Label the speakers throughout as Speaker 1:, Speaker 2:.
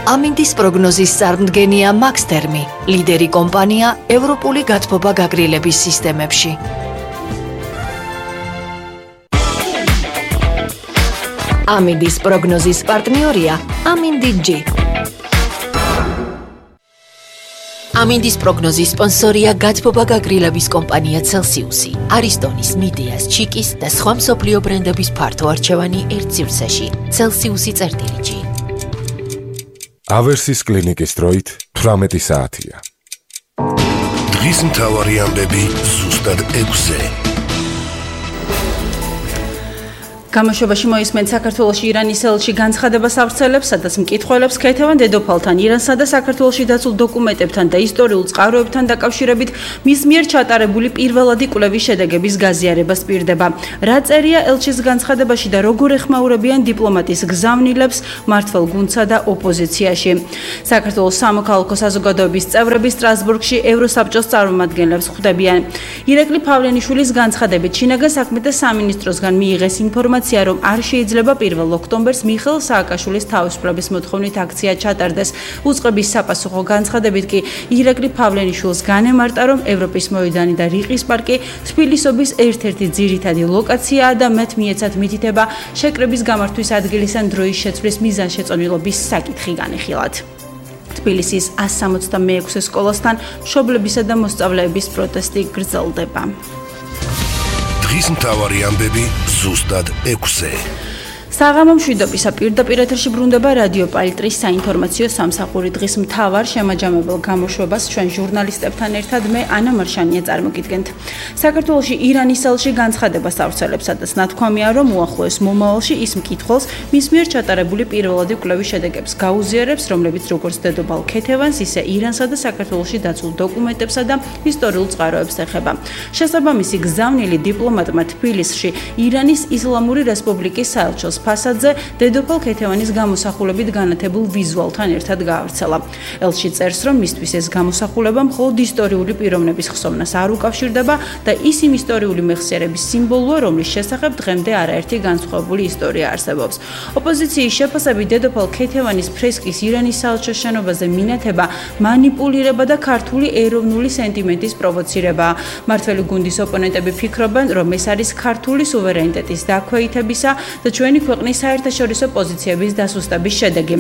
Speaker 1: ამინდის პროგნოზის წარმდგენია მაქსთერმი, ლიდერი კომპანია ევროპული გათბობა გაგრილების სისტემებში. ამინდის პროგნოზის პარტნიორია ამინდი-G. ამინდის პროგნოზის სპონსორია გათბობა გაგრილების კომპანია Celsius-ი, არისტონის, მიდეას, ჩიკის და სხვა მსოფლიო ბრენდების ფართო არჩევანი ერთ სივრცეში. Celsius-ი წერტილი-G.
Speaker 2: ავერსის კლინიკის დროით 18 საათია.
Speaker 3: დღის მთავარი ამბები ზუსტად 6-ზე.
Speaker 4: გამოშვებაში მოისმენთ საქართველოში ირანის ელჩი განცხადებას ავრცელებს, სადაც მკითხველებს ქეთევან დედოფალთან, ირანსა და საქართველოში დაცულ დოკუმენტებთან და ისტორიულ წყაროებთან დაკავშირებით მის მიერ ჩატარებული პირველადი კვლევის შედეგების გაზიარება სპირდება. რა წერია ელჩის განცხადებაში და როგორ ეხმაურებიან დიპლომატის გზავნილებს მმართველ გუნდსა და ოპოზიციაში. საქართველოს სამოქალაქო საზოგადოების წევრები სტრასბურგში ევროსაბჭოს წარმომადგენლებს ხვდებიან. ირაკლი ფავლენიშვილის განცხადებით შინაგან საქმეთა სამინისტროსგან მიიღეს ინფორმაცია, რომ არ შეიძლება 1 ოქტომბერს მიხეილ სააკაშვილის თავისუფლების მოთხოვნით აქცია ჩატარდეს. უწყების საპასუხო განცხადებით კი ირაკლი ფავლენიშვილს განემარტა, რომ ევროპის მოედანი და რიყის პარკი თბილისობის ერთ-ერთი ძირითადი ლოკაციაა და მათ მიეცათ მითითება შეკრების გამართვის ადგილის ან დროის შეცვლის მიზანშეწონილობის საკითხი განიხილათ. თბილისის 166 სკოლასთან მშობლებისა და მოსწავლეების პროტესტი გრძელდება.
Speaker 3: დღის მთავარი ამბები ზუსტად 6-ზე.
Speaker 4: საღამო მშვიდობისა პირდაპირ ეთერში ბრუნდება რადიო პალიტრის საინფორმაციო სამსახური. დღის მთავარ შემაჯამებელ გამოშვებას ჩვენ ჟურნალისტებთან ერთად მე ანა მარშანია წარმოგიდგენთ. საქართველოში ირანის ელჩი განცხადებას ავრცელებს, სადაც ნათქვამია, რომ უახლოეს მომავალში ის მკითხველს მის მიერ ჩატარებული პირველადი კვლევის შედეგებს გაუზიარებს, რომლებიც როგორც დედოფალ ქეთევანს, ისე ირანსა და საქართველოში დაცულ დოკუმენტებსა და ისტორიულ წყაროებს ეხება. შესაბამისი გზავნილი დიპლომატმა თბილისში ირანის ისლამური რესპუბლიკის საელჩოს ფასადზე დედოფალ ქეთევანის გამოსახულებით განათებულ ვიზუალთან ერთად გაავრცელა. ელჩი წერს, რომ მისთვის ეს გამოსახულება მხოლოდ ისტორიული პიროვნების ხსოვნას არ უკავშირდება და ის იმ ისტორიული მეხსიერების სიმბოლოა, რომლის შესახებ დღემდე არაერთი განსხვავებული ისტორია არსებობს. ოპოზიციის შეფასებით დედოფალ ქეთევანის ფრესკის ირანის საელჩოს შენობაზე მინათება მანიპულირება და ქართული ეროვნული სენტიმენტის პროვოცირებაა. მმართველი გუნდის ოპონენტები ფიქრობენ, რომ ეს არის ქართული სუვერენიტეტის დაქვეითებისა და ჩვენი ქვეყნის საერთაშორისო პოზიციების დასუსტების შედეგი.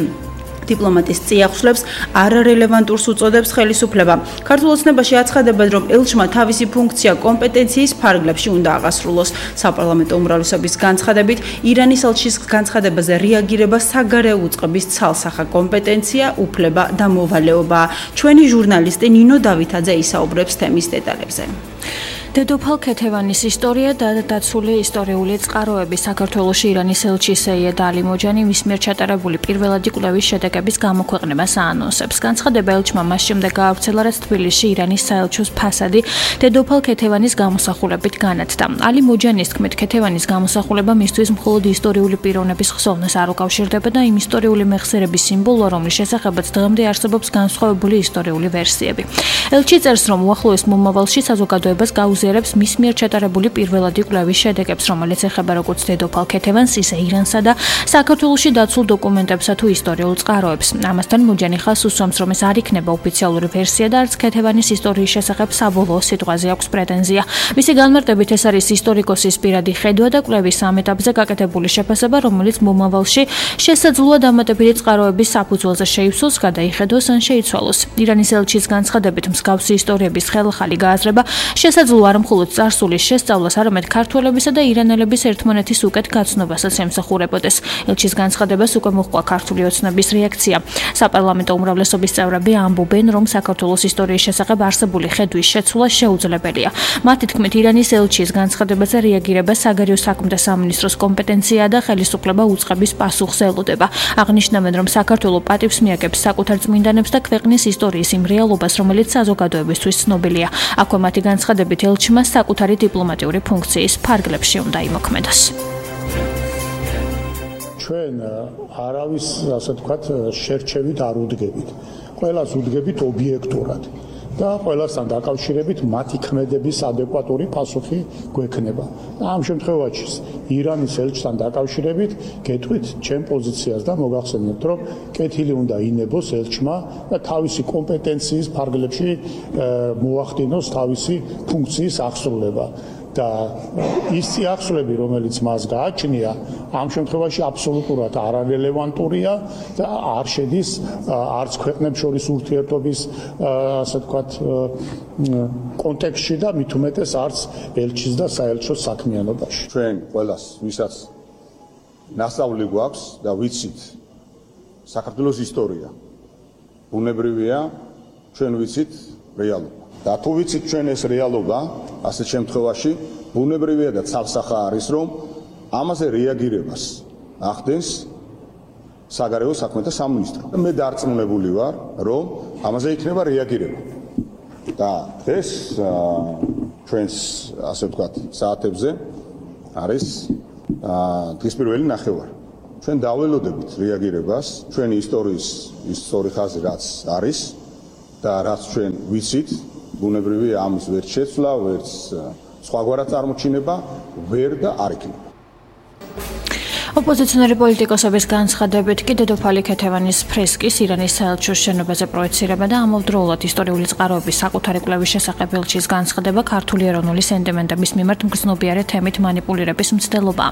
Speaker 4: დიპლომატის წიაღშლებს არარელევანტურს უწოდებს ხელისუფლება. ქართულ ოცნებაში აცხადებენ, რომ ელჩმა თავისი ფუნქცია კომპეტენციის ფარგლებში უნდა აღასრულოს. საპარლამენტო უმრავლესობის განცხადებით, ირანის ელჩის განცხადებაზე რეაგირება საგარეო უწყების ცალსახა კომპეტენცია, უფლება და მოვალეობაა. ჩვენი ჟურნალისტი ნინო დავითაძე ისაუბრებს თემის დეტალებზე.
Speaker 5: დედოფალ ქეთევანის ისტორია და დაცული ისტორიული წყაროები. საქართველოში ირანის ელჩი სეიედ ალი მოჯანი მის მიერ ჩატარებული პირველადი კვლევის შედეგების გამოქვეყნებას აანონსებს. განცხადება ელჩმა მას შემდეგ გაავრცელა, რაც თბილისში ირანის საელჩოს ფასადი დედოფალ ქეთევანის გამოსახულებით განათდა. ალი მოჯანის თქმით, ქეთევანის გამოსახულება მისთვის მხოლოდ ისტორიული პიროვნების ხსოვნას არ უკავშირდება და იმ ისტორიული მეხსიერების სიმბოლოა, რომლის შესახებაც დღემდე არსებობს განსხვავებული ისტორიული ვერსიები. ელჩი წერს, რომ უახლოეს მომავალში საზოგადოებას გაუზიარებს მის მიერ ჩატარებული პირველადი კვლევის შედეგებს, რომელიც ეხება როგორც დედოფალ ქეთევანს, ისე ირანსა და საქართველოში დაცულ დოკუმენტებსა თუ ისტორიულ წყაროებს. ამასთან მოჯანი ხაზს უსვამს, რომ ეს არ იქნება ოფიციალური ვერსია და არც ქეთევანის ისტორიის შესახებ საბოლოო სიტყვაზე აქვს პრეტენზია. მისი განმარტებით ეს არის ისტორიკოსის პირადი ხედვა და კვლევის ამ ეტაპზე გაკეთებული შეფასება, რომელიც მომავალში შესაძლოა დამატებითი წყაროების საფუძველზე შეივსოს, გადაიხედოს ან შეიცვალოს. ირანის ელჩის განცხადებით მსგავსი ისტორიების ხელახალი გააზრება შესაძლოა არ მხოლოდ წარსულის შესწავლას, არამედ ქართველებისა და ირანელების ერთმანეთის უკეთ გაცნობასაც ემსახურებოდეს. ელჩის განცხადებას უკვე მოჰყვა ქართული ოცნების რეაქცია. საპარლამენტო უმრავლესობის წევრები ამბობენ, რომ საქართველოს ისტორიის შესახებ არსებული ხედვის შეცვლა შეუძლებელია. მათი თქმით, ირანის ელჩის განცხადებაზე რეაგირება საგარეო საქმეთა სამინისტროს კომპეტენციაა და ხელისუფლება უწყების პასუხს ელოდება. აღნიშნავენ, რომ საქართველო პატივს მიაგებს საკუთარ წმინდანებს და ქვეყნის ისტორიის იმ რეალობას, რომელიც საზოგადოებისთვის ცნობილია. აქვე მათი განცხადებით ელჩმა საკუთარი დიპლომატიური ფუნქციის ფარგლებში უნდა იმოქმედოს.
Speaker 6: ჩვენ არავის, ასე ვთქვათ, შერჩევით არ უდგებით. ყველას უდგებით ობიექტურად. და ყველასთან დაკავშირებით მათი ქმედების ადეკვატური პასუხი გვექნება. და ამ შემთხვევაში ირანის ელჩთან დაკავშირებით გეტყვით ჩემ პოზიციას და მოგახსენებთ, რომ კეთილი უნდა ინებოს ელჩმა და თავისი კომპეტენციის ფარგლებში მოახდინოს თავისი ფუნქციის აღსრულება. და ის წიაღსვლები, რომელიც მას გააჩნია, ამ შემთხვევაში აბსოლუტურად არარელევანტურია და არ შედის არც ქვეყნებს შორის ურთიერთობის, ასე ვთქვათ, კონტექსტში და მით უმეტეს არც ელჩის და საელჩოს საქმიანობაში.
Speaker 7: ჩვენ ყველას, ვისაც ნასწავლი გვაქვს და ვიცით საქართველოს ისტორია, ბუნებრივია, ჩვენ ვიცით რეალობა. და თუ ვიცით ჩვენ ეს რეალობა, ასეთ შემთხვევაში ბუნებრივია და ცალსახა არის, რომ ამაზე რეაგირებას ახდენს საგარეო საქმეთა სამინისტრო. მე დარწმუნებული ვარ, რომ ამაზე იქნება რეაგირება. და ეს ჩვენს, ასე ვთქვათ, საათებზე არის დღის პირველი ნახევარი. ჩვენ დაველოდებით რეაგირებას, ჩვენი ისტორიის ის სწორი ხაზი რაც არის და რაც ჩვენ ვიცით, ბუნებრივია ამის ვერ შეცვლა, ვერც სხვაგვარად წარმოჩინება ვერ და არ იქნება.
Speaker 5: ოპოზიციონერი პოლიტიკოსების განცხადებით კი დედოფალი ქეთევანის ფრესკის ირანის საელჩოს შენობაზე პროექცირება და ამავდროულად ისტორიული წყაროების საკუთარი კვლევის შესახებ ელჩის განცხადება ქართული ეროვნული სენტიმენტების მიმართ მგრძნობიარე თემით манипуლირების მცდელობაა.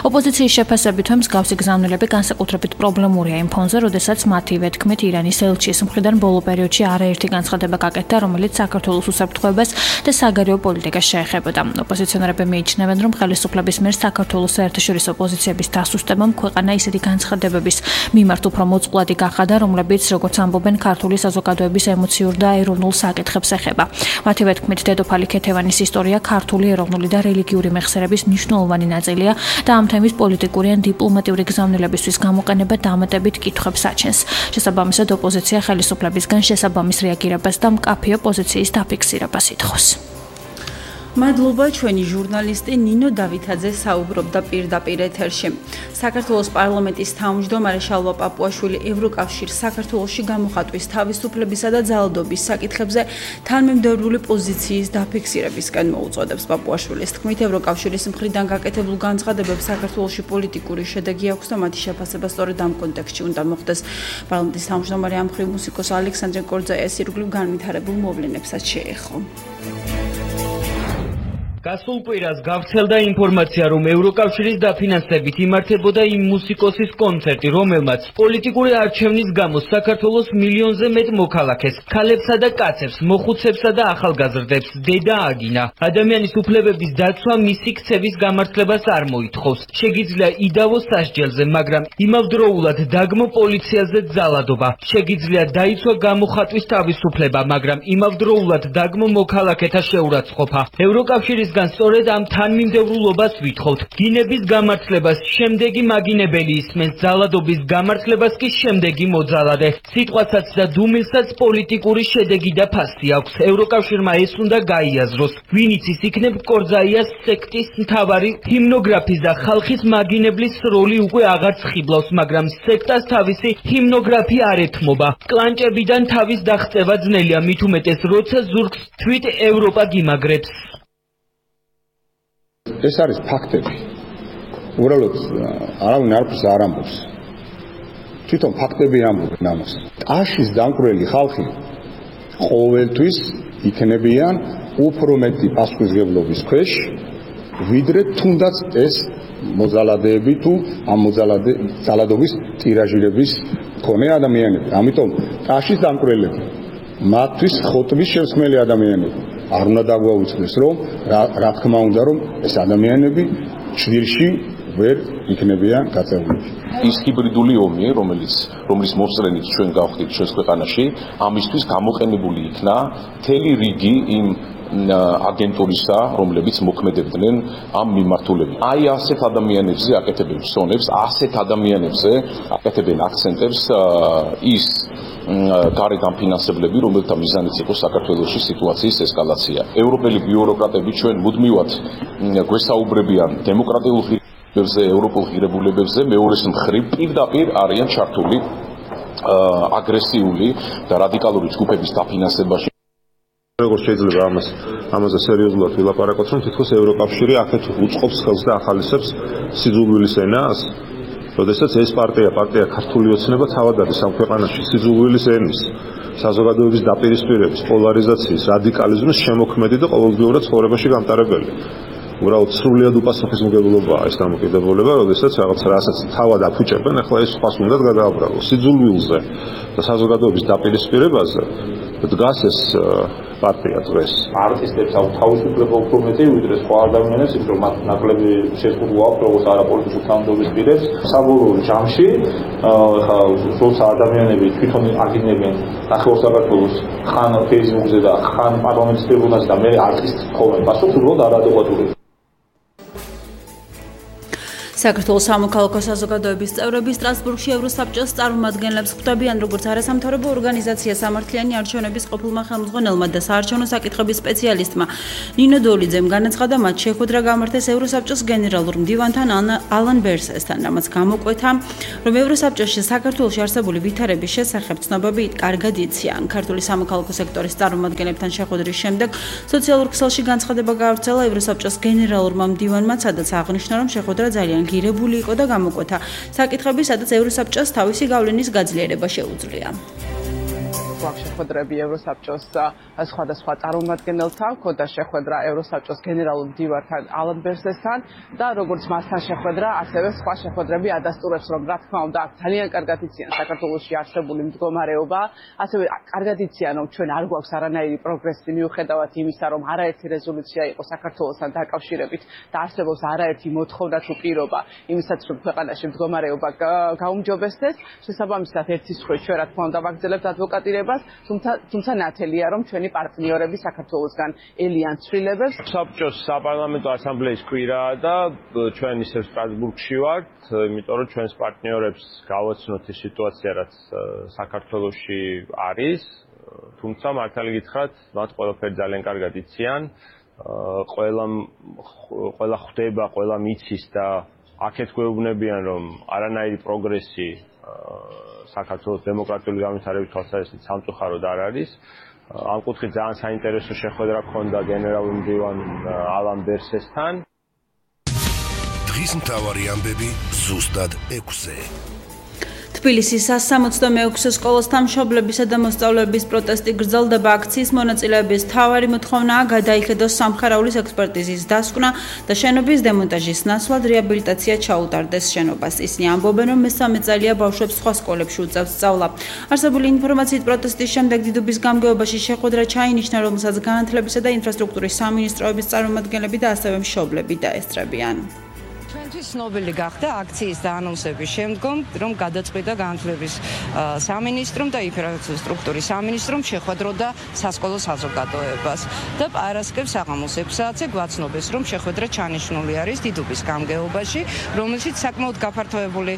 Speaker 5: ოპოზიციის შეფასებით მსგავსი გზავნილები განსაკუთრებით პრობლემურია იმ ფონზე, როდესაც მათივე თქმით ირანის ელჩის მხრიდან ბოლო პერიოდში არაერთი განცხადება გაკეთდა, რომელიც საქართველოს უსაფრთხოებას და საგარეო პოლიტიკას შეეხებოდა. ოპოზიციონერები მიიჩნევენ, რომ ხელისუფლების მიერ საქართველოს საერთაშორისო პოზიციების დასუსტებამ ქვეყანა ისეთი განცხადებების მიმართ უფრო მოწყვლადი გახადა, რომლებიც, როგორც ამბობენ, ქართული საზოგადოების ემოციურ და ეროვნულ საკითხებს ეხება. მათივე თქმით, დედოფალი ქეთევანის ისტორია ქართული ეროვნული და რელიგიური მეხსიერების მნიშვნელოვანი ნაწილია და ამ თემის პოლიტიკური ან დიპლომატიური გზავნილებისთვის გამოყენება დამატებით კითხვებს აჩენს. შესაბამისად, ოპოზიცია ხელისუფლებისგან შესაბამის რეაგირებას და მკაფიო პოზიციის დაფიქსირებას ითხოვს.
Speaker 4: მადლობა, ჩვენი ჟურნალისტი ნინო დავითაძე საუბრობდა პირდაპირ ეთერში. საქართველოს პარლამენტის თავმჯდომარე შალვა პაპუაშვილი ევროკავშირს საქართველოში გამოხატვის თავისუფლებისა და ძალადობის საკითხებზე თანმიმდევრული პოზიციის დაფიქსირებისკენ მოუწოდებს. პაპუაშვილის თქმით, ევროკავშირის მხრიდან გაკეთებულ განცხადებებს საქართველოში პოლიტიკური შედეგი აქვს და მათი შეფასება სწორედ ამ კონტექსტში უნდა მოხდეს. პარლამენტის თავმჯდომარე ამ მხრივ მუსიკოს ალექსანდრე კორძაიას ირგვლივ განვითარებულ მოვლენებსაც შეეხო.
Speaker 8: გასულ კვირას გავრცელდა ინფორმაცია, რომ ევროკავშირის დაფინანსებით იმართებოდა იმ მუსიკოსის კონცერტი, რომელმაც პოლიტიკური არჩევნის გამო საქართველოს მილიონზე მეტ მოქალაქეს, ქალებსა და კაცებს, მოხუცებსა და ახალგაზრდებს დედა აგინა. ადამიანის უფლებების დაცვა მისი ქცევის გამართლებას არ მოითხოვს. შეგიძლია იდავოს სასჯელზე, მაგრამ იმავდროულად დაგმო პოლიციაზე ძალადობა. შეგიძლია დაიცვა გამოხატვის თავისუფლება, მაგრამ იმავდროულად დაგმო მოქალაქეთა შეურაცხყოფა. ევროკავშირის სწორედ ამ თანმიმდევრულობას ვითხოვთ. გინების გამართლებას შემდეგი მაგინებელი ისმენს, ძალადობის გამართლებას კი შემდეგი მოძალადე. სიტყვასაც და დუმილსაც პოლიტიკური შედეგი და ფასი აქვს. ევროკავშირმა ეს უნდა გაიაზროს. ვინიც ის იქნებ კორძაიას სექტის მთავარი ჰიმნოგრაფის და ხალხის მაგინებლის როლი უკვე აღარც ხიბლავს, მაგრამ სექტას თავისი ჰიმნოგრაფი არ ეთმობა. კლანჭებიდან თავის დაღწევა ძნელია, მით უმეტეს როცა ზურგს თვით ევროპა გიმაგრებს.
Speaker 7: ეს არის ფაქტები. უბრალოდ არავინ არაფერს არ ამბობს. თვითონ ფაქტები ამბობენ ამას. ტაშის დამკვირველი ხალხი ყოველთვის იქნებიან უფრო მეტი პასუხისმგებლობის ქვეშ, ვიდრე თუნდაც ეს მოძალადეები თუ ამ ძალადობის ტირაჟირების მქონე ადამიანები. ამიტომ ტაშის დამკვირველები მათთვის ხოტბის შემსქმელი ადამიანები. არ უნდა დაგვაუწყდეს, რომ რა თქმა უნდა, რომ ეს ადამიანები ჭვირში ვერ იქნებიან გაწეული.
Speaker 9: ის ჰიბრიდული ომი, რომლის მოსწრენით ჩვენ გავხდით ჩვენს ქვეყანაში, ამისთვის გამოყენებული იქნა მთელი რიგი იმ აგენტურისა, რომლებიც მოქმედებდნენ ამ მიმართულებით. აი ასეთ ადამიანებზე აკეთებენ ფსონებს, ასეთ ადამიანებზე აკეთებენ აქცენტებს ის გარეთ ამფინანსებლები, რომელთა მიზანიც იყო საქართველოში სიტუაციის ესკალაცია. ევროპელი ბიუროკრატები ჩვენ მუდმივად გვესაუბრებიან დემოკრატიულ ღირებულებებზე, ევროპულ ღირებულებებზე, მეორეს მხრივ პირდაპირ არიან ჩართული აგრესიული და რადიკალური ჯგუფების დაფინანსებაში.
Speaker 10: როგორც შეიძლება ამაზე სერიოზულად ვილაპარაკოთ, რომ თითქოს ევროკავშირი აქეთ უწყობს ხელს და ახალისებს სიძულვილის ენას, როდესაც ეს პარტია ქართული ოცნება თავად არის ამ ქვეყანაში სიძულვილის ენის, საზოგადოების დაპირისპირების, პოლარიზაციის, რადიკალიზმის შემოქმედი და ყოველდღიურად ცხოვრებაში გამტარებელი. უბრალოდ სრულიად უპასუხისმგებლობაა ეს დამოკიდებულება, როდესაც რასაც თავად აფუჭებენ, ახლა ეს სხვას უნდა გადააბრალოს. სიძულვილზე და საზოგადოების დაპირისპირებაზე დგას ეს პარტია დღეს.
Speaker 9: არტისტებს აქვს თავისუფლება უფრო მეტი, ვიდრე სხვა ადამიანებს, იმიტომ რომ მათ ნაკლები შეზღუდვა აქვს როგორც არაპოლიტიკურ თანამდებობის პირებს. საბოლოო ჯამში ხა როცა ადამიანები თვითონ აგინებენ ნახევარ საქართველოს ხან Facebook-ზე და ხან პარლამენტის ტრიბუნაზე და მე არტისტს ხოვენ პასუხს, უბრალოდ არადეკვატური.
Speaker 4: საქართველოს სამოქალაქო საზოგადოების წევრები სტრასბურგში ევროსაბჭოს წარმომადგენლებს ხვდებიან, როგორც არასამთავრობო ორგანიზაცია სამართლიანი არჩევნების ყოფილმა ხელმძღვანელმა და საარჩევნო საკითხების სპეციალისტმა ნინო დოლიძემ განაცხადა, მათ შეხვედრა გამართეს ევროსაბჭოს გენერალურ მდივანთან ალან ბერსესთან, რამაც გამოკვეთა, რომ ევროსაბჭოში საქართველოში არსებული ვითარების შესახებ ცნობები კარგად იციან. ქართული სამოქალაქო სექტორის წარმომადგენლებთან შეხვედრის შემდეგ სოციალურ ქსელში განცხადება გაავრცელა ევროსაბჭოს გენერალურმა მდივანმა, სადაც აღნიშნა, რომ შეხვედრა ძალიან გირებული იყო და გამოკვეთა საკითხები, სადაც ევროსაბჭოს თავისი გავლენის გაძლიერება შეუძლია.
Speaker 11: შეხვედრები ევროსაბჭოს სხვადასხვა წარმომადგენელთან, ჰქონდა შეხვედრა ევროსაბჭოს გენერალურ მდივანთან ალან ბერსესთან და როგორც მასთან შეხვედრა, ასევე სხვა შეხვედრები ადასტურებს, რომ რა თქმა უნდა ძალიან კარგად იციან საქართველოში არსებული მდგომარეობა, ასევე კარგად იციან, რომ ჩვენ არ გვაქვს არანაირი პროგრესი მიუხედავად იმისა, რომ არაერთი რეზოლუცია იყო საქართველოსთან დაკავშირებით და არსებობს არაერთი მოთხოვნა თუ პირობა იმისაც, რომ ქვეყანაში მდგომარეობა გაუმჯობესდეს. შესაბამისად, ერთის მხრივ ჩვენ რა თქმა უნდა ვაგრძელებთ ადვოკატირებას, თუმცა ნათელია, რომ ჩვენი პარტნიორები საქართველოსგან ელიან ცვლილებებს.
Speaker 12: საბჭოს საპარლამენტო ასამბლეის კვირაა და ჩვენ ისევ სტრასბურგში ვართ, იმიტომ რომ ჩვენს პარტნიორებს გავაცნოთ ის სიტუაცია, რაც საქართველოში არის, თუმცა მართალი გითხრათ, მათ ყველაფერი ძალიან კარგად იციან, ყველა ხვდება, ყველა მიცის და აქეთ გვეუბნებიან, რომ არანაირი პროგრესი საქართველოს დემოკრატიული განვითარების თვალსაზრისით სამწუხაროდ არ არის. ამ კუთხით ძალიან საინტერესო შეხვედრა ჰქონდა გენერალურ მდივან ალან ბერსესთან.
Speaker 3: დღის მთავარი ამბები ზუსტად 6-ზე.
Speaker 4: თბილისის 166 სკოლასთან მშობლებისა და მოსწავლეების პროტესტი გრძელდება. აქციის მონაწილეების მთავარი მოთხოვნაა გადაიხედოს სამხარაულის ექსპერტიზის დასკვნა და შენობის დემონტაჟის ნაცვლად რეაბილიტაცია ჩაუტარდეს შენობას. ისინი ამბობენ, რომ მესამე წელია ბავშვებს სხვა სკოლებში უწევს სწავლა. არსებული ინფორმაციით პროტესტის შემდეგ დიდუბის გამგეობაში შეხვედრა ჩაინიშნა, რომელსაც განათლებისა და ინფრასტრუქტურის სამინისტროების წარმომადგენლები და ასევე მშობლები დაესწრებიან.
Speaker 13: ცნობილი გახდა აქციის დაანონსების შემდგომ, რომ გადაწყვიტა განათლების სამინისტრომ და ინფრასტრუქტურის სამინისტრომ შეხვედროდა სასკოლო საზოგადოებას და პარასკევს საღამოს 6 საათზე გვაცნობეს, რომ შეხვედრა ჩანიშნული არის დიდუბის გამგეობაში, რომელშიც საკმაოდ გაფართოებული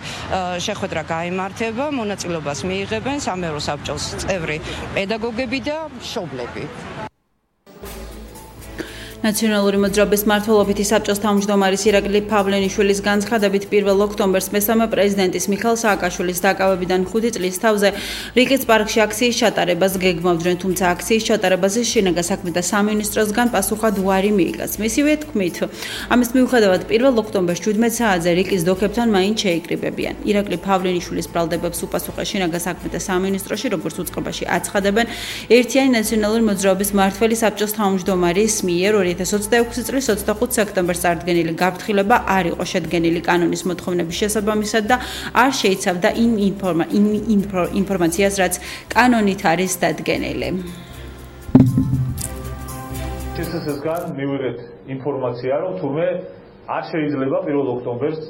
Speaker 13: შეხვედრა გაიმართება, მონაწილეობას მიიღებენ სამერო საბჭოს წევრი პედაგოგები და მშობლები.
Speaker 4: ნაციონალური მოძრაობის მმართველობითი საბჭოს თავმჯდომარის ირაკლი ფავლენიშვილის განცხადებით 1 ოქტომბერს მესამე პრეზიდენტის მიხეილ სააკაშვილის დაკავებიდან 5 წლის თავზე რიკის პარკში აქციის ჩატარებას გეგმავდნენ, თუმცა აქციის ჩატარებაზე შინაგან საქმეთა სამინისტროსგან პასუხად უარი მიიღეს. მისივე თქმით, ამის მიუხედავად 1 ოქტომბერს 17 საათზე რიკის დოქებთან მაინც შეიკრიბებიან. ირაკლი ფავლენიშვილის ბრალდებებს უპასუხა შინაგან საქმეთა სამინისტროში, როგორც უწყებაში აცხადებენ ერთიანი ნაციონალური მოძრაობის მმართველი საბჭოს თავმჯდომარის მიერ 2026 წლის 25 სექტემბერს წარდგენილი გაფრთხილება არ იყო შედგენილი კანონის მოთხოვნების შესაბამისად და არ შეიცავდა იმ ინფორმაციას, რაც კანონით არის დადგენილი.
Speaker 14: შესაძლებლად მივიღეთ ინფორმაცია, რომ თურმე არ შეიძლება 1 ოქტომბერს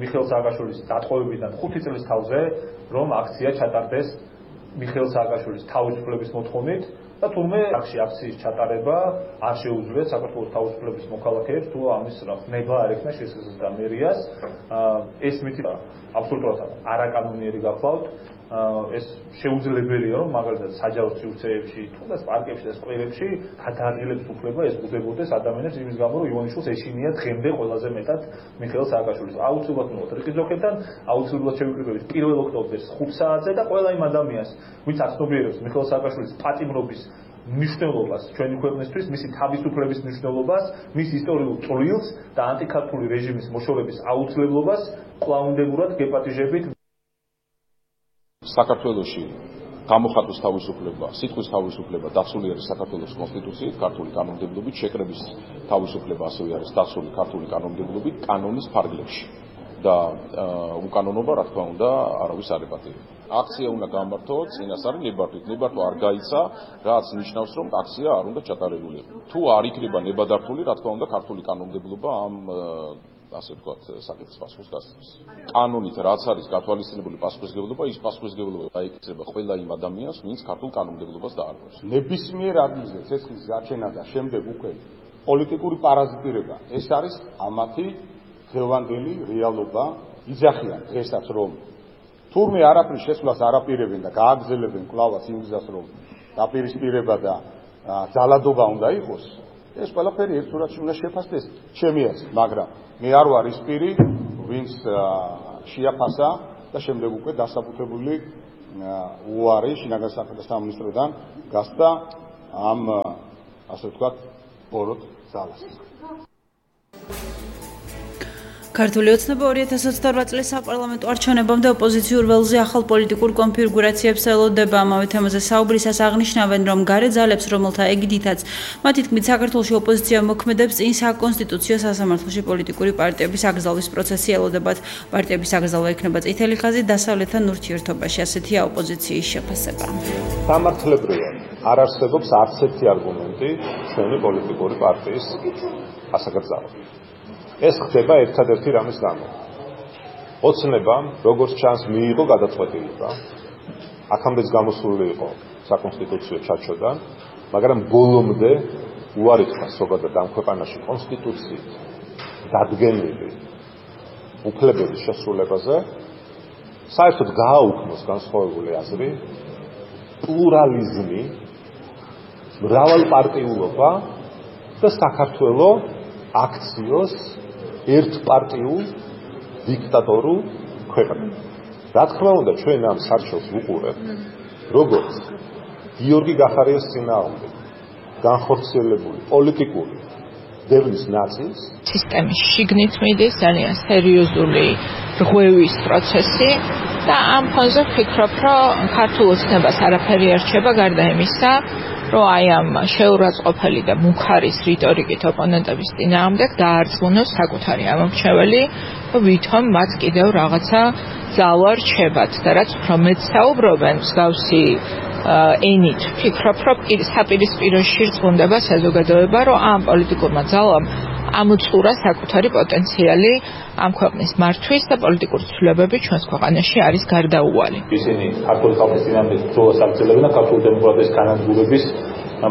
Speaker 14: მიხეილ სააკაშვილის დატყვევებიდან 5 წლის თავზე რომ აქცია ჩატარდეს მიხეილ სააკაშვილის თავისუფლების მოთხოვნით და თურმე აქციის ჩატარება არ შეუძლია საქართველოს თავისუფლების მოქალაქეებს თუ ამის ხმება არ ექნა შესაძლებლად მერიას. ეს მითი აბსოლუტურად არაკანონიერი გახლავთ. ეს შეუძლებელია, რომ მაგალითად საჯარო სივრცეებში, თუნდაც პარკებში და სკვერებში გადაადგილებს უფლება ესწრებოდეს ადამიანებს იმის გამო, რომ ივანიშვილს ეშინია დღემდე ყველაზე მეტად მიხეილ სააკაშვილის. აუცილებლად მივიღოთ რიკის დოქებთან, აუცილებლად შევიკრიბებით 1 ოქტომბერს 5 საათზე და ყველა იმ ადამიანს, ვინც აცნობიერებს მიხეილ სააკაშვილის პატიმრობის მნიშვნელობას ჩვენი ქვეყნისთვის, მისი თავისუფლების მნიშვნელობას, მის ისტორიულ წვლილს და ანტიქართული რეჟიმის მოშორების აუცილებლობას კვლავინდებურად გეპატიჟებით.
Speaker 9: საქართველოში გამოხატვის თავისუფლება, სიტყვის თავისუფლება დაცული არის საქართველოს კონსტიტუციით, ქართული კანონმდებლობით, შეკრების თავისუფლება ასევე არის დაცული ქართული კანონმდებლობით, კანონის ფარგლებში. და უკანონობა, რა თქმა უნდა, არავის არ ებატირება. აქცია უნდა გამართო წინასწარი ნებართვით. ნებართვა არ გაიცა, რაც ნიშნავს, რომ აქცია არ უნდა ჩატარებულიყო. თუ არ იქნება ნებადართული, რა თქმა უნდა, ქართული კანონმდებლობა ამ ასე ვთქვათ, საკითხს პასუხს გასცემს. კანონით რაც არის გათვალისწინებული პასუხისმგებლობა, ის პასუხისმგებლობა დაიკისრება ყველა იმ ადამიანს, ვინც ქართულ კანონმდებლობას დაარღვევს.
Speaker 7: ნებისმიერ ადგილზე ცეცხლის გაჩენა და შემდეგ უკვე პოლიტიკური პარაზიტირება, ეს არის ამათი დღევანდელი რეალობა. იძახიან დღესაც, რომ თურმე არაფრის შესვლას არაპირებენ და გააგრძელებენ კვლავაც იმ გზას, რომ დაპირისპირება და ძალადობა უნდა იყოს, ეს ყველაფერი ერთ სურათში უნდა შეფასდეს ჩემი აზრით, მაგრამ მე არ ვარ ის პირი, ვინც შეაფასა და შემდეგ უკვე დასაბუთებული უარი შინაგან საქმეთა სამინისტროდან გასცა ამ ასე ვთქვათ ბოროტ ძალას.
Speaker 4: ქართული ოცნება 2028 წლის საპარლამენტო არჩევნებამდე ოპოზიციურ ველზე ახალ პოლიტიკურ კონფიგურაციებს ელოდება. ამავე თემაზე საუბრისას აღნიშნავენ, რომ გარე ძალებს, რომელთა ეგიდითაც მათი თქმით საქართველოში ოპოზიცია მოქმედებს, წინ საკონსტიტუციო სასამართლოში პოლიტიკური პარტიების აკრძალვის პროცესი ელოდებათ. პარტიების აკრძალვა იქნება წითელი ხაზი დასავლეთთან ურთიერთობაში. ასეთია ოპოზიციის შეფასება.
Speaker 10: სამართლებრივად არ არსებობს არც ერთი არგუმენტი ჩვენი პოლიტიკური პარტიის ასაკრძალვად. ეს ხდება ერთადერთი რამის გამო. ოცნებამ, როგორც ჩანს, მიიღო გადაწყვეტილება. აქამდეც გამოსული იყო საკონსტიტუციო ჩარჩოდან, მაგრამ ბოლომდე უარი თქვა ზოგადად ამ ქვეყანაში კონსტიტუციით დადგენილი უფლებების შესრულებაზე, საერთოდ გააუქმოს განსხვავებული აზრი, პლურალიზმი, მრავალპარტიულობა და საქართველო აქციოს ერთპარტიულ დიქტატორულ ქვეყნად. რა თქმა უნდა, ჩვენ ამ სარჩელს ვუყურებთ, როგორც გიორგი გახარიას წინააღმდეგ განხორციელებული პოლიტიკური დევნის ნაწილს.
Speaker 15: სისტემის შიგნით მიდის ძალიან სერიოზული რღვევის პროცესი და ამ ფონზე ვფიქრობ, რომ ქართულ ოცნებას არაფერი არ რჩება გარდა იმისა, რომ აი ამ შეურაცხყოფელი და მუქარის რიტორიკით ოპონენტების წინააღმდეგ დაარწმუნოს საკუთარი ამორჩეველი, რომ ვითომ მათ კიდევ რაღაცა ძალა რჩებათ და რაც უფრო მეტ საუბრობენ მსგავსი ენით, ვფიქრობ, რომ საპირისპირო შირწყუნდება საზოგადოება, რომ ამ პოლიტიკურმა ძალამ ამოწურა საკუთარი პოტენციალი ამ ქვეყნის მართვის და პოლიტიკური ცვლილებები ჩვენს ქვეყანაში არის გარდაუვალი.
Speaker 14: ისინი ქართული ხალხის წინააღმდეგ ბრძოლას აგრძელებენ და ქართული დემოკრატიის განადგურების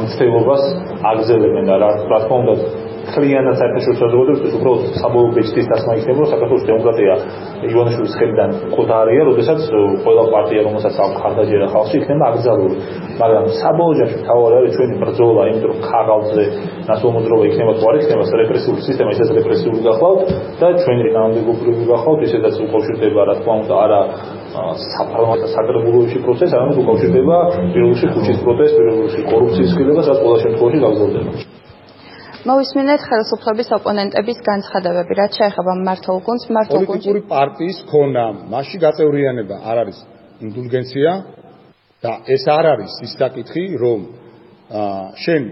Speaker 14: მცდელობას აგრძელებენ და რა თქმა უნდა ხლიანად საერთაშორისო საზოგადოებისთვის უბრალოდ საბოლოო ბეჭდის დასმა იქნება, რომ საქართველოს დემოკრატია ივანიშვილის ხელიდან ყოდარია, როდესაც ყველა პარტია, რომელსაც აქვს ხარდაჭერა ხალხში, იქნება აკრძალული. მაგრამ საბოლოო ჯამში თავი არის ჩვენი ბრძოლა, იმიტომ რომ ქაღალდზე ნაცვალმოძრაობა იქნება თუ არ იქნება, რეპრესიული სისტემა ისედაც რეპრესიული გახლავთ და ჩვენი კანონმდებლობრივი გახლავთ, ისედაც უკავშირდება, რა თქმა უნდა, არა საპარლამენტო საკრებულოში პროცესი, არამედ უკავშირდება პირველში ქუჩის პროტესტს, პირველში კორუფციის ხილებას, რაც ყველა შემთხვევაში გაგრძელდება.
Speaker 16: მოვისმინეთ ხელისუფლების ოპონენტების განცხადებები, რაც შეეხება მმართველ გუნდს,
Speaker 6: პოლიტიკური პარტიის ქონა, მასში გაწევრიანება არ არის ინდულგენცია და ეს არ არის ის საკითხი, რომ შენ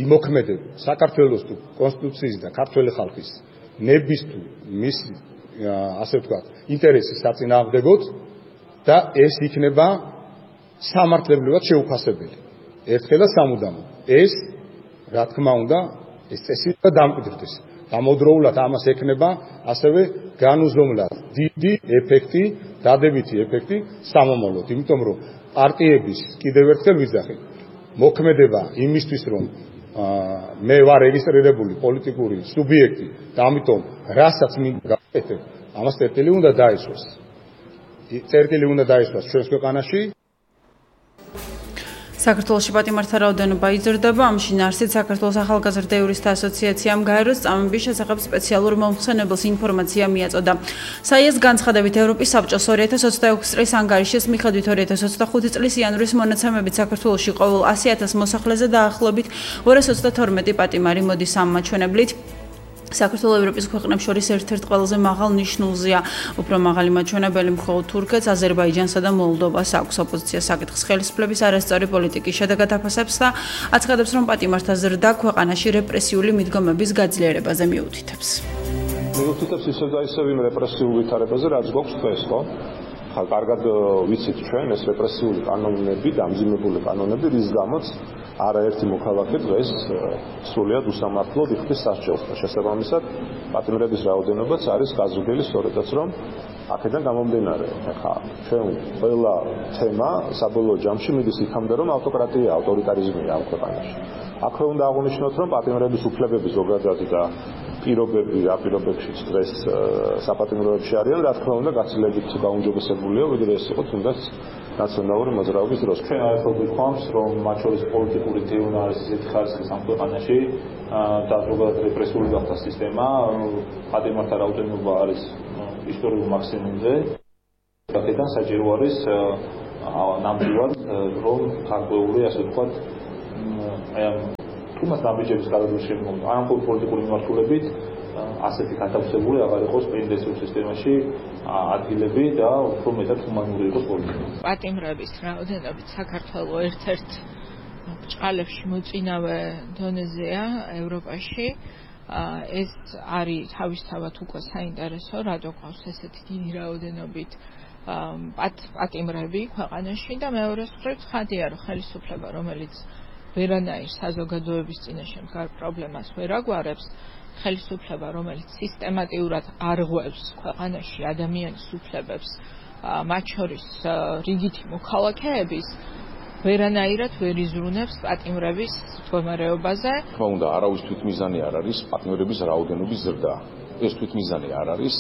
Speaker 6: იმოქმედებ საქართველოს თუ კონსტიტუციის და ქართველი ხალხის ნების თუ მის ასე ვთქვათ, ინტერესის საწინააღმდეგოდ და ეს იქნება სამართლებრივად შეუფასებელი. ერთხელ და სამუდამოდ. ეს რა თქმა უნდა ეს წესი და დამკვიდრდეს. გამოდროულად ამას ექნება ასევე განუზომლად დიდი ეფექტი, დადებითი ეფექტი სამომავლოდ, იმიტომ რომ პარტიების კიდევ ერთხელ ვიძახი, მოქმედება იმისთვის, რომ მე ვარ რეგისტრირებული პოლიტიკური სუბიექტი და ამიტომ რასაც მინდა გავაკეთებ, ამას წერტილი უნდა დაესვას. წერტილი უნდა დაესვას ჩვენს ქვეყანაში.
Speaker 4: საქართველოში პატიმართა რაოდენობა იზრდება, ამში ნარსით საქართველოს ახალგაზრდა იურისტთა ასოციაციამ გაეროს წამების შესახებ სპეციალურ მომხსენებელს ინფორმაცია მიაწოდა. საიეს განცხადებით ევროპის საბჭოს 2026 წლის ანგარიშის მიხედვით 2025 წლის იანვრის მონაცემებით საქართველოში ყოველ 100,000 მოსახლეზე დაახლოებით 222 პატიმარი მოდის ამ მაჩვენებლით. საქართველოს ევროპის ქვეყნებს შორის ერთ-ერთ ყველაზე მაღალ ნიშნულზეა. უფრო მაღალი მაჩვენებელი მხოლოდ თურქეთს, აზერბაიჯანსა და მოლდოვას აქვს. ოპოზიცია საკითხს ხელისუფლების არასწორი პოლიტიკის შედეგად აფასებს და აცხადებს, რომ პატიმართა ზრდა ქვეყანაში რეპრესიული მიდგომების გაძლიერებაზე მიუთითებს.
Speaker 10: მიუთითებს ისევ და ისევ იმ რეპრესიულ ვითარებაზე, რაც გვაქვს დღეს, ხო? კარგად ვიცით ჩვენ ეს რეპრესიული კანონები, დამძიმებული კანონები, რის გამოც არაერთი მოქალაქე დღეს სრულად უსამართლოდ იხდის სასჯელს და შესაბამისად პატიმრების რაოდენობაც არის გაზრდილი სწორედაც რომ აქედან გამომდინარე. ახლა ჩვენ ყველა თემა საბოლოო ჯამში მიდის იქამდე რომ ავტოკრატია, ავტორიტარიზმია ამ ქვეყანაში. აქვე უნდა აღვნიშნოთ რომ პატიმრების უფლებები ზოგადად და პირობები რა პირობებშიც დღეს საპატიმროებში არიან, რა თქმა უნდა გაცილებით გაუმჯობესებულია, ვიდრე ეს იყო თუნდაც ნაციონალური მოძრაობის დროს. ჩვენ აერთობ ვიქხვამს, რომ მათ შორის პოლიტიკური დევნა არის ისეთი ხარისხის ამ ქვეყანაში და ზოგადად რეპრესიული გახდა სისტემა, პატიმართა რაოდენობა არის ისტორიულ მაქსიმუმზე. აქედან საჭირო არის ნამდვილად რომ გარკვეული ასე ვთქვათ აი ამ თუმცა ნაბიჯების გადადვრის შემდგომ არ ამ პოლიტიკური მიმართულებით ასეთი გათავსებული აღარ იყოს პენდენციურ სისტემაში ადგილები და უფრო მეტად ჰუმანური იყოს პოლიტიკა.
Speaker 15: პატიმრების რაოდენობით საქართველოს ერთ-ერთ ბრჭყალებში მოწინავე დონეზეა ევროპაში. ეს არის თავისთავად უკვე საინტერესო, რადგან ყავს ესეთი დიდი რაოდენობით პატიმრები ქვეყანაში და მეორე მხრივ ცხადია, რომ ხელისუფლება, რომელიც ვერანაირ საზოგადოების წინაშე მდგარ პრობლემას ვერ აგვარებს, ხელისუფლება, რომელიც სისტემატიურად არღვევს ქვეყანაში ადამიანის უფლებებს, მათ შორის რიგითი მოქალაქეების, ვერანაირად ვერ იზრუნებს პატიმრების მდგომარეობაზე.
Speaker 9: თქმა უნდა, არავის თვითმიზანი არ არის პატიმრების რაოდენობის ზრდა. ეს თვითმიზანი არ არის.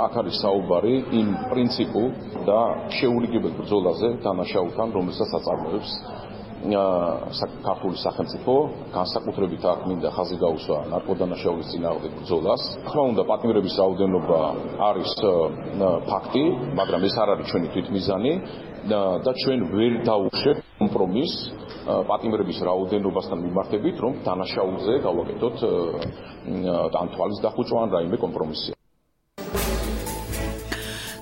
Speaker 9: აქ არის საუბარი იმ პრინციპულ და შეურიგებელ ბრძოლაზე დანაშაულთან, რომელსაც აწარმოებს საქართველოს სახელმწიფო, განსაკუთრებით აქ მინდა ხაზი გაუსვა ნარკოდანაშაულის წინააღმდეგ ბრძოლას. თქმა უნდა, პატიმრების რაოდენობა არის ფაქტი, მაგრამ ეს არ არის ჩვენი თვითმიზანი და ჩვენ ვერ დავუშვებთ კომპრომისს პატიმრების რაოდენობასთან მიმართებით, რომ დანაშაულზე გავაკეთოთ ან თვალის დახუჭვა ან რაიმე კომპრომისი.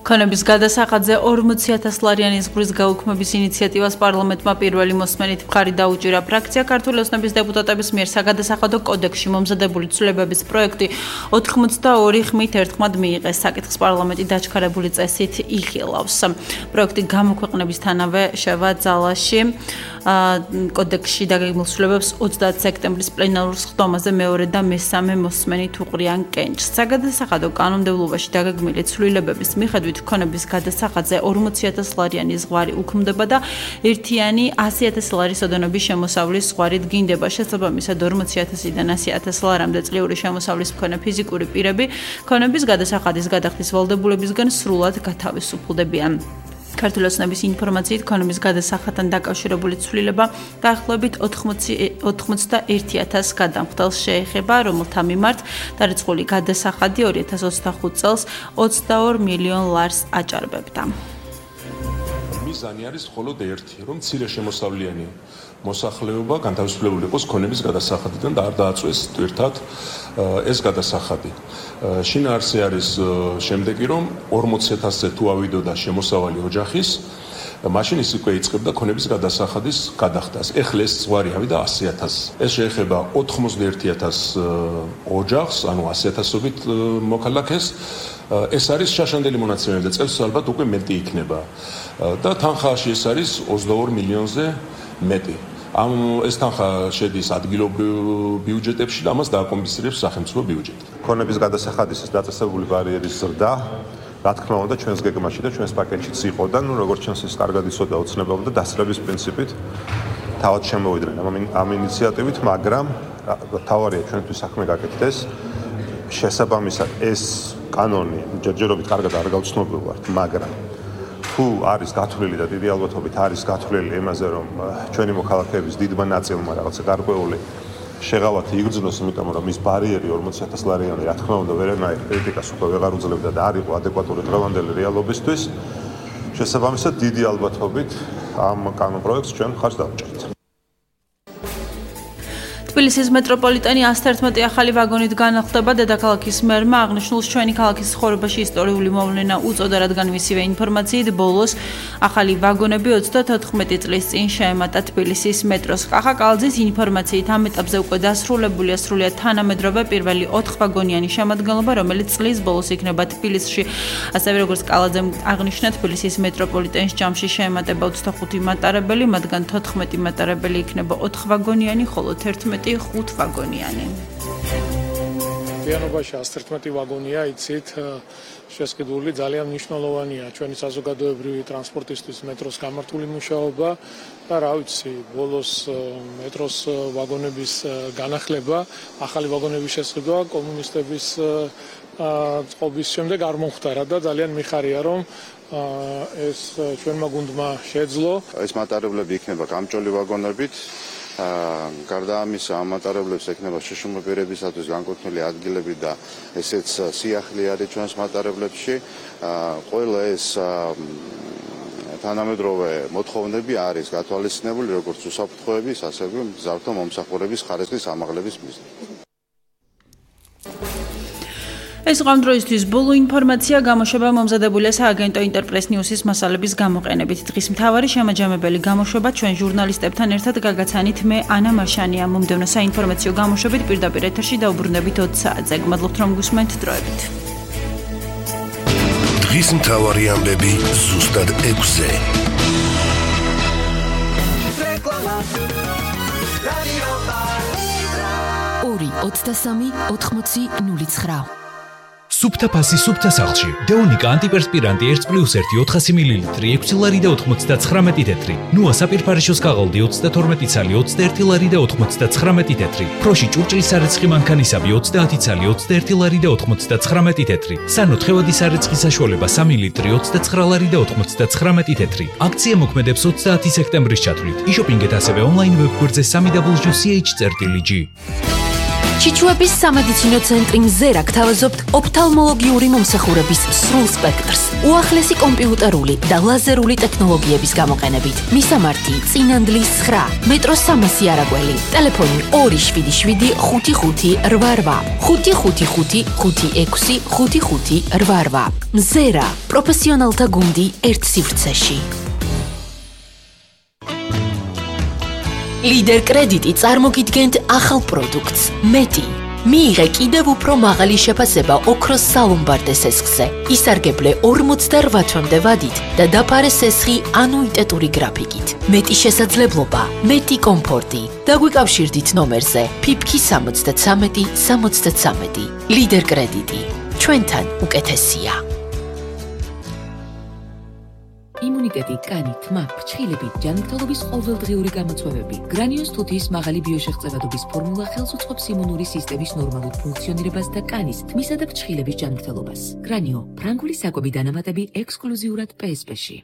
Speaker 4: ქონების გადასახადზე 40,000 ლარიანის ზღვრის გაუქმების ინიციატივას პარლამენტმა პირველი მოსმენით მხარი დაუჭირა. ფრაქცია ქართული ოცნების დეპუტატების მიერ საგადასახადო კოდექსში მომზადებული ცვლილებების პროექტი 82 ხმით ერთხმად მიიღეს. საკითხს პარლამენტი დაჩქარებული წესით იხილავს. პროექტი გამოქვეყნებისთანავე შევა ძალაში. კოდექსში დაგეგმილ ცვლილებებს 30 სექტემბრის პლენარულ სხდომაზე მეორე და მესამე მოსმენით უყრიან კენჭს. საგადასახადო კანონმდებლობაში დაგეგმილი ცვლილებების მიხედვით ქონების გადასახადზე 40,000 ლარიანი ზღვარი უქმდება და ერთიანი 100,000 ლარის ოდენობის შემოსავლის ზღვარი დგინდება. შესაბამისად 40,000-დან 100,000 ლარამდე წლიური შემოსავლის მქონე ფიზიკური პირები ქონების გადასახადის გადახდის ვალდებულებისგან სრულად გათავისუფლდებიან. ქართული ოცნების ინფორმაციით ქონების გადასახადთან დაკავშირებული ცვლილება დაახლოებით 81,000 გადამხდელს შეეხება, რომელთა მიმართ დარიცხული გადასახადი 2025 წელს 22 მილიონ ლარს აჭარბებდა.
Speaker 10: მიზანი არის მხოლოდ ერთი, რომ მცირე შემოსავლიანი მოსახლეობა განთავისუფლებული იყოს ქონების გადასახადიდან და არ დააწვეს თვირთად ეს გადასახადი. შინაარსი არის შემდეგი, რომ 40,000-ზე თუ ავიდოდა შემოსავალი ოჯახის, მაშინ ის უკვე იწყებდა ქონების გადასახადის გადახდას. ეხლა ეს ზღვარი ავიდა 100,000. ეს შეეხება 91,000 ოჯახს, ანუ 100,000-ობით მოქალაქეს. ეს არის შაშანდელი მონაცემები და წელს ალბათ უკვე მეტი იქნება. და თანხაში ეს არის 22 მილიონზე მეტი. ეს თანხა შედის ადგილობრივ ბიუჯეტებში და ამას დააკომპენსირებს სახელმწიფო ბიუჯეტი. ქონების გადასახადის დაწესებული ბარიერის ზრდა, რა თქმა უნდა, ჩვენს გეგმაში და ჩვენს პაკეტშიც იყო და როგორც ჩვენს ის კარგად იცოდა ოცნებამ და დასწრების პრინციპით თავად შემოვიდნენ ამ ინიციატივით, მაგრამ თავარია ჩვენთვის საქმე გაკეთდეს. შესაბამისად ეს კანონი ჯერჯერობით კარგად არ გავცნობილ ვართ, მაგრამ თუ არის გათვლილი და დიდი ალბათობით არის გათვლილი იმაზე, რომ ჩვენი მოქალაქეების დიდმა ნაწილმა რაღაცა გარკვეული შეღავათი იგრძნოს, იმიტომ რომ ის ბარიერი 40,000 ლარიანი, რა თქმა უნდა, ვერანაირ კრიტიკას უკვე ვეღარ უძლებდა და არ იყო ადეკვატური დღევანდელი რეალობისთვის. შესაბამისად, დიდი ალბათობით ამ კანონპროექტს ჩვენ ხარჯს დავჭერთ.
Speaker 4: თბილისის მეტროპოლიტენი 111 ახალი ვაგონით განახლდება. დედაქალაქის მერმა აღნიშნულს ჩვენი ქალაქის ცხოვრებაში ისტორიული მოვლენა უწოდა, რადგან მისივე ინფორმაციით ბოლოს ახალი ვაგონები 34 წლის წინ შეემატა თბილისის მეტროს. კახა კალძის ინფორმაციით ამ ეტაპზე უკვე დასრულებულია სრულიად თანამედროვე პირველი 4 ვაგონიანი შემადგენლობა, რომელიც წლის ბოლოს იქნება თბილისში. ასევე როგორც კალაძემ აღნიშნა, თბილისის მეტროპოლიტენის ჯამში შეემატება 25 მატარებელი, მათგან 14 მატარებელი იქნება 4 ვაგონიანი, ხოლო 11 5 ვაგონიანი.
Speaker 6: მთლიანობაში 111 ვაგონია, იცით, შესყიდული ძალიან მნიშვნელოვანია ჩვენი საზოგადოებრივი ტრანსპორტისთვის მეტროს გამართული მუშაობა და რა ვიცი, ბოლოს მეტროს ვაგონების განახლება, ახალი ვაგონების შესყიდვა კომუნისტების წყობის შემდეგ არ მომხდარა და ძალიან მიხარია, რომ ეს ჩვენმა გუნდმა შეძლო.
Speaker 17: ეს მატარებლები იქნება გამჭოლი ვაგონებით. გარდა ამისა, ამ მატარებლებს ექნება შეშუმა პირებისათვის განკუთვნილი ადგილები და ესეც სიახლე არის ჩვენს მატარებლებში. ყველა ეს თანამედროვე მოთხოვნები არის გათვალისწინებული როგორც უსაფრთხოების, ასევე მგზავრთა მომსახურების ხარისხის ამაღლების მიზნით.
Speaker 4: ეს ამ დროისთვის ბოლო ინფორმაცია გამოშვება მომზადებულია სააგენტო ინტერპრეს ნიუსის მასალების გამოყენებით. დღის მთავარი შემაჯამებელი გამოშვება ჩვენ ჟურნალისტებთან ერთად გაგაცანით მე ანა მარშანია. მომდევნო საინფორმაციო გამოშვებით პირდაპირ ეთერში დაუბრუნდებით 20 საათზე. გმადლობთ რომ გусმენთ დროებით.
Speaker 3: დღის მთავარი ამბები ზუსტად 6-ზე.
Speaker 1: 2-23-80-09.
Speaker 18: სუფთა ფასი სუფთა სახლში. დეონიკა ანტიპერსპირანტი 1+1 400 მლ 6 ლარი და 99 თეთრი. ნუა საპირფარეშოს ქაღალდი 32 ცალი 21 ლარი და 99 თეთრი. ფროში ჭურჭლის სარეცხი მანქანისაბი 30 ცალი 21 ლარი და 99 თეთრი. სანო თხევადი სარეცხი საშუალება 3 ლიტრი 29 ლარი და 99 თეთრი. აქცია მოქმედებს 30 სექტემბრის ჩათვლით. იშოპინგეთ ასევე ონლაინ ვებგვერდზე www.ch.lg.
Speaker 1: ჩიჩუების სამედიცინო ცენტრი მზერა გთავაზობთ ოფთალმოლოგიური მომსახურების სრულ სპექტრს, უახლესი კომპიუტერული და ლაზერული ტექნოლოგიების გამოყენებით. მისამართი: წინანდლის 9, მეტროს 300 არაგველი, ტელეფონი 277 55 88, 555 56 55 88. მზერა, პროფესიონალთა გუნდი ერთ სივრცეში. ლიდერ კრედიტი წარმოგიდგენთ ახალ პროდუქტს მეტი. მიიღე კიდევ უფრო მაღალი შეფასება ოქროს სალომბარდე სესხზე. ისარგებლე 48 თვემდე ვადით და დაფარე სესხი ანუიტეტური გრაფიკით. მეტი შესაძლებლობა, მეტი კომფორტი. დაგვიკავშირდით ნომერზე ფიფქი 73 73. ლიდერ კრედიტი. ჩვენთან უკეთესია. იმუნიტეტი, კანი, თმა, ფრჩხილები, ჯანმრთელობის ყოველდღიური გამოწვევები. გრანიოს თუთიის მაღალი ბიოშეღწევადობის ფორმულა ხელს უწყობს იმუნური სისტემის ნორმალურ ფუნქციონირებას და კანის, თმისა და ფრჩხილების ჯანმრთელობას. გრანიო, ფრანგული საკვები დანამატები ექსკლუზიურად PSP-ში.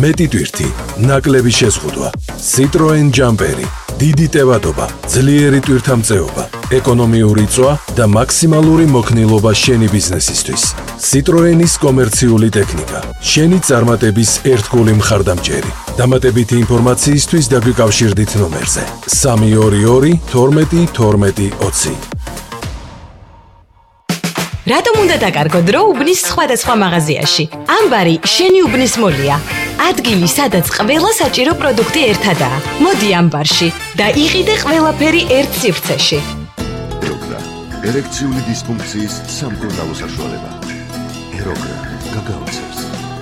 Speaker 2: მეტი ტვირთი, ნაკლები შეზღუდვა, Citroen Jumperi, დიდი ტევადობა, ძლიერი ტვირთამწეობა, ეკონომიური წვა და მაქსიმალური მოქნილობა შენი ბიზნესისთვის. Citroenis კომერციული ტექნიკა, შენი წარმატების ერთგული მხარდამჭერი. დამატებითი ინფორმაციისთვის დაგვიკავშირდით ნომერზე 322 12 12 20.
Speaker 19: რატომ უნდა დაკარგო დრო უბნის სხვადასხვა მაღაზიაში? ამბარი შენი უბნის მოლია. ადგილი, სადაც ყველა საჭირო პროდუქტი ერთადაა. მოდი ამბარში და იყიდე ყველაფერი ერთ სივრცეში.
Speaker 20: ეროგრა, ერექციული დისფუნქციის სამკურნალო საშუალება. ეროგრა, გაგაოცებს.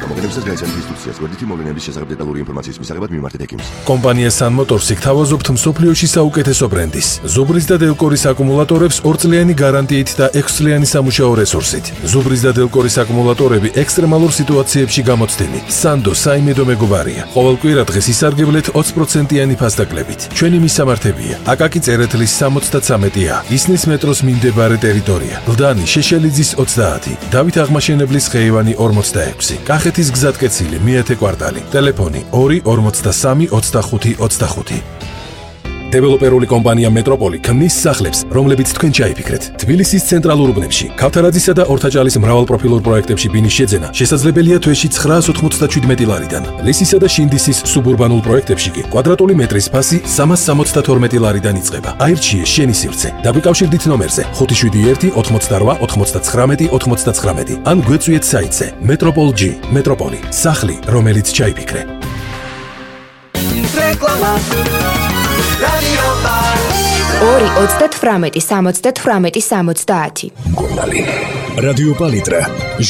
Speaker 20: გამოგონებსაც გაიცანთ ინსტრუქციას, გვერდითი მოვლენების შესახებ დეტალური ინფორმაციის მისაღებად მიმართეთ ექიმს.
Speaker 2: კომპანია Sun Motors-ი გთავაზობთ მსოფლიოში საუკეთესო ბრენდის. ზუბრის და დელკორის აკუმულატორებს 2 წლიანი გარანტიით და 6 წლიანი სამუშაო რესურსით. ზუბრის და დელკორის აკუმულატორები ექსტრემალურ სიტუაციებში გამოცდენი. Sando საიმედო მეგობარია. ყოველ კვირადღეს ისარგებლეთ 20%-იანი ფასდაკლებით. ჩვენი მისამართებია: აკაკი წერეთლის 73-ა, ისნის მეტროს მიმდებარე ტერიტორია, ლდანი შეშელიძის 30, დავით აღმაშენებლის ხეივანი 46, კახეთ ერთმანეთის გზატკეცილი მეათე კვარტალი. ტელეფონი 2 43 25 25. დეველოპერული კომპანია მეტროპოლი ქმნის სახლებს, რომლებიც თქვენ ჩაიფიქრეთ. თბილისის ცენტრალურ უბნებში, ქავთარაძისა და ორთაჭალის მრავალპროფილურ პროექტებში ბინის შეძენა შესაძლებელია თვეში 997 ლარიდან. ლისისა და შინდისის სუბურბანულ პროექტებში კი კვადრატული მეტრის ფასი 372 ლარიდან იწყება. აირჩიე შენი სივრცე. დაგვიკავშირდით ნომერზე 571 88 99 99 ან გვეწვიეთ საიტზე Metropol.G. მეტროპოლი, სახლი, რომელიც ჩაიფიქრე.
Speaker 21: რეკლამა
Speaker 22: 2-38-70-70.
Speaker 21: მკურნალი. რადიო პალიტრა,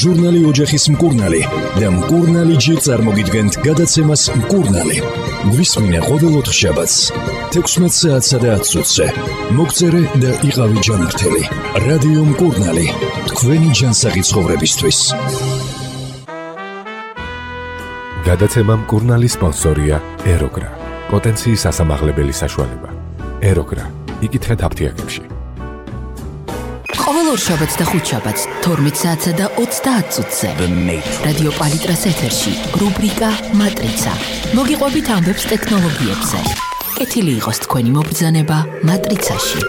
Speaker 21: ჟურნალი ოჯახის მკურნალი და მკურნალი G წარმოგიდგენთ გადაცემას მკურნალი. გვისმინე ყოველ ოთხშაბათს 16 საათსა და 10 წუთზე. მოგწერე და იყავი ჯანმრთელი. რადიო მკურნალი, თქვენი ჯანსაღი ცხოვრებისთვის.
Speaker 23: გადაცემა მკურნალი სპონსორია ეროგრა. პოტენციის ასამაღლებელი საშუალება. ეროგრა. იკითხეთ აფთიაქებში.
Speaker 1: ყოველ ორშაბათს და ხუთშაბათს 12 საათსა და 30 წუთზე. რადიო პალიტრას ეთერში რუბრიკა მატრიცა. მოგიყვებით ამბებს ტექნოლოგიებზე. კეთილი იყოს თქვენი მობრძანება მატრიცაში.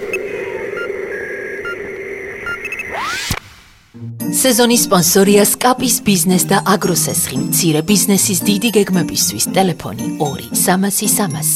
Speaker 1: სეზონის სპონსორია სკაპის ბიზნეს და აგროსესხი. მცირე ბიზნესის დიდი გეგმებისთვის ტელეფონი 2 300 300.